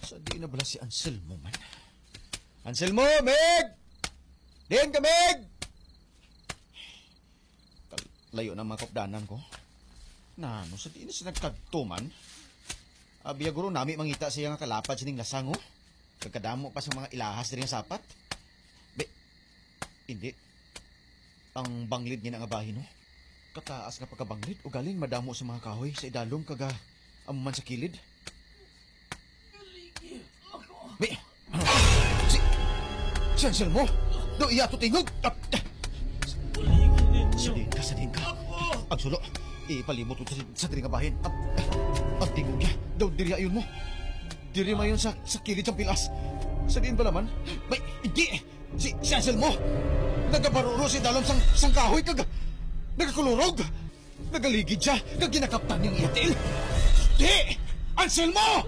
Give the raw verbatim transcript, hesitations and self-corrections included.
Sa di na bala si Anselmo man? Anselmo, Meg! Diin ka, Meg! Kal-, layo na mga kaupdanan ko. Nano, sa di na siya nagkadto man? Abi, guro, nami mangita siya nga kalapad sining lasang, oh. Kagkadamo pa sa mga ilahas diri nga sapat. Be, hindi. Ang banglid niya nga bahin, no? Kataas nga pagkabanglid, ugaling madamo sa mga kahoy sa idalom kag, ah, amo man sa kilid. May, ano? Si, si Anselmo? Do iya to tingog? Ah, ah. Sa diin ka, sa diin ka. Ang sulo. Ipalibot ko sa, sa diri nga bahin. Ang, ang tingog niya. Daw diri ayon mo. Diri mayon sa, sa kilid sang pilas. Sa diin ba naman? May, hindi. Si, si Anselmo, nagabaruro sa idalom sang, sang kahoy kag nagakulurog. Nagaligid siya kag ginakaptan niya ang iya tiil. Di! Anselmo!